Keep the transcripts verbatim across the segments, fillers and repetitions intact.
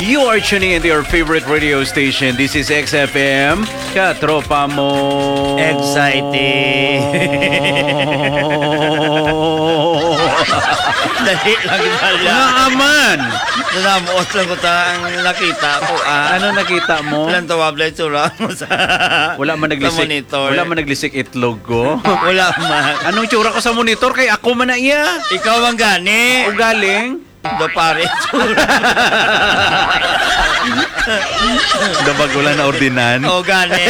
You are tuning into your favorite radio station. This is X F M, Katropa Mo. Exciting. Dali lang pala. Naaman. Nanamuot lang ko ta ang nakita ko, ah. Ano nakita mo? Walang tawag lang itsura mo sa, Wala man sa naglisik, monitor. Wala man naglisik itlog ko. Wala man. Anong tsura ko sa monitor? Kay ako man na iya. Ikaw ang gani. Ugaling. Do pare. Dabagulan na ordinan. O, gani.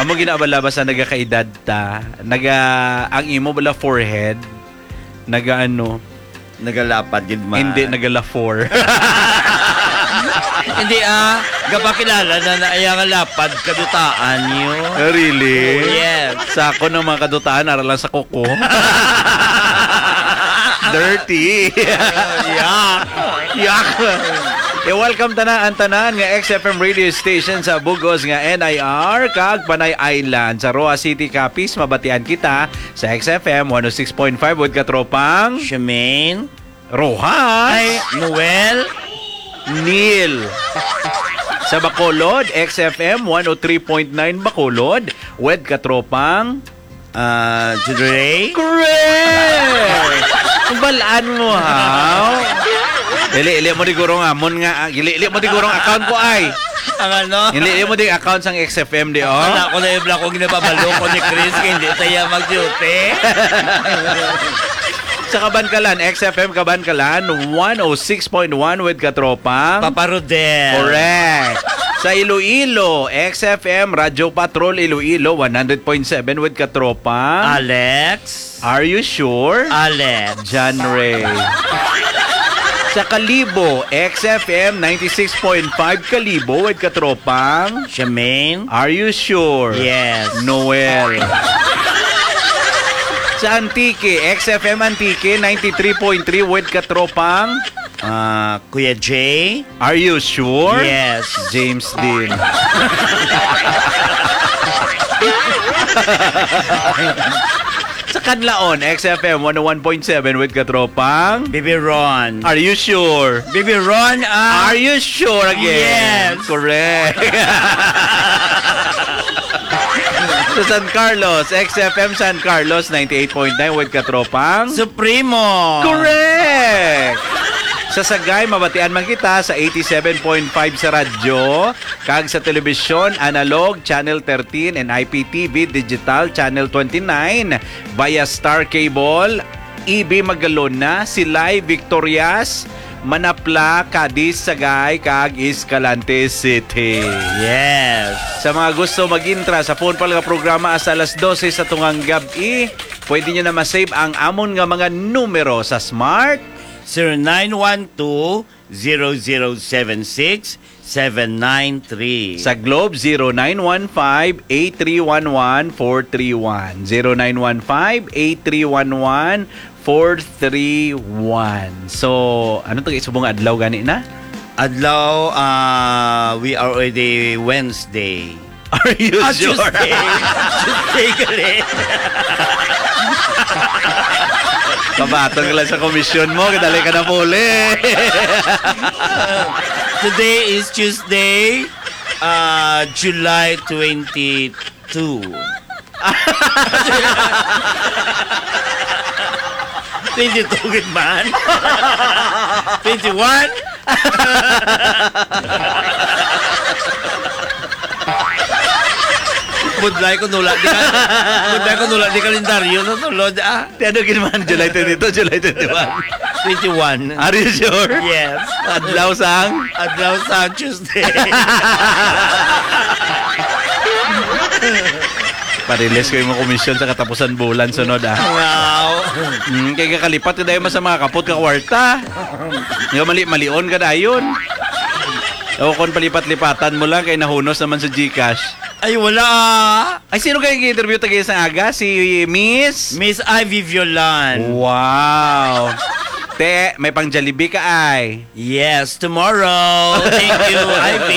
Amo ginabalaba sa nagakaedad ta. Naga, ang imo bala forehead, naga ano, Nagalapad gid man. Hindi, nagalafor. Hindi, ah. Gapakilala na na iya nga lapad kadutaan niyo. Oh, really? Oh, yes. Sa ako ng mga kadutaan, ara lang sa kuko. Dirty. Yak. Yak. I-welcome tanan ang tanan nga X F M radio station sa bug-os nga N I R kag Panay Island. Sa Roa City, Capiz, mabatian kita sa X F M one oh six point five with katropang Shemaine. Rojas. Ay, Noel. Neil. Sa Bacolod, X F M one oh three point nine Bacolod, with katropang Ah, Judre? Correct! Balaan mo, ha? Ili-ili mo di gurong amon nga, ah, ili-ili mo di gurong account ko ay. Ang ano? Ili-ili mo di account sang X F M di, oh. Wala ko na yung black ko ginapabalo ko ni Chris kay hindi tayo mag-duty. Sa Kabankalan, X F M Kabankalan, one oh six point one with katropang Papa Rodel. Correct. Sa Iloilo, X F M Radyo Patrol Iloilo, one hundred point seven with katropang Alex. Are you sure? Alex. John Ray. Sa Kalibo, X F M ninety-six point five Kalibo with katropang Shemaine. Are you sure? Yes. Noel. Sa Antique, X F M Antique, ninety-three point three with katropang Ah, Kuya Jay? Are you sure? Yes. James din. Sa Kanlaon, X F M one oh one point seven with katropang Bibi Ron. Are you sure? Bibi Ron, ah. Are you sure again? Yes. Correct. Sa San Carlos, X F M San Carlos, ninety-eight point nine with katropang Supremo. Correct! Sa Sagay, mabatian man kita sa eighty-seven point five sa radyo, kag sa telebisyon, analog, channel thirteen, and I P T V, digital, channel twenty-nine, via Star Cable, E B Magalona, Silay, Victorias, Manapla, Cadiz, Sagay, kag Escalante City. Yes. Sa mga gusto mag-intra sa phone pal nga programa hasta alas dose sa tungang gab-i, pwede nyo na ma-save ang amon nga mga numero sa Smart. Zero nine one two, zero zero seven six, seven nine three. Sa Globe, zero nine one five, eight three one one, four three one. Zero nine one five, eight three one one, four three one. So, ano to, subong adlaw gani na? Adlaw, ah, we are already Wednesday. Are you Ah, sure? Tuesday. Tuesday gali. Kabaton ka lang sa komisyon mo, kadali ka na puli. Today is Tuesday, ah, July twenty-two. Twenty-two gid man. Twenty-one. Budlay ko nula di ka, budlay ko nula di kalendaryo sa sulod, ah. Ti ano gid man, July twenty-two, July twenty-one? Twenty-one. Are you sure? Yes. Adlaw sang? Adlaw sang Tuesday. Parilis ko yung mga komisyon sa katapusan bulan sunod, ah. Wow. Mm, kay kakalipat ka dahil sa mga kapot ka kwarta. Nga mali-malion ka dayon. O kung palipat-lipatan mo lang kay nahunos naman sa GCash. Ay, wala, ah. Ay, sino kayo i-interview tayo sa aga? Si Miss? Miss Ivy Violan. Wow. Te, may pang Jollibee ka ay. Yes, tomorrow. Thank you, Ivy.